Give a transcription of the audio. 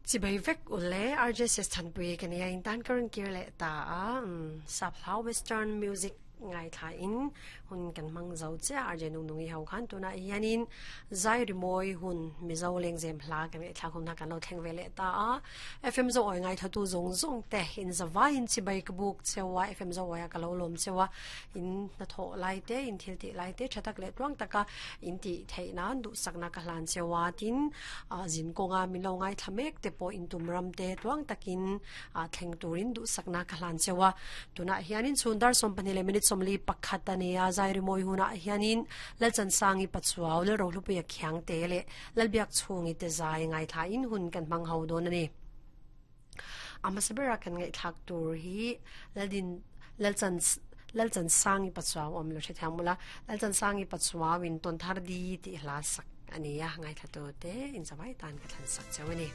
Chibai vek ule RJSS Thanpui ka nia in tan ka rawn kir leh ta a sap hlau western music ngaithla in hun kan hmang zo chiah RJ Nung Nungi ho khan tunah hianin zai rimawi hun Mizo lengzem hla kan ngaihthlak hun kha kan lo thleng ve leh ta a FM zo awi ngaithla tu zawng zawng te in zavai in chibai ka buk cheu a FM zo awi a ka lo lawm cheu a in hnathawh lai te in thil tih lai te tha tak leh tluang taka in tih theih nan duhsakna ka hlan cheu a tin ah zin kawnga min lo ngaithla mek te pawh in tum ram te tluang takin ah thleng turin duhsakna ka hlan cheu a tunah hianin chhun dar 12 leh minute 41 a ni a zai rimawi hunah hianin Lalchansangi Pachuau Lalrohlupuia Khiangte leh Lalbiakchhungi te zai ngaithla in hun kan hmang ho dawn a ni. A hmasa bera kan ngaihthlak tur hi Laldin Lalchan Lalchansangi Pachuau awm lo hrethiam mawla Lalchansangi Pachuau in tawn thar di tih hla sak a ni a ngaithla tu te in zavai tan ka thlan sak cheu a ni.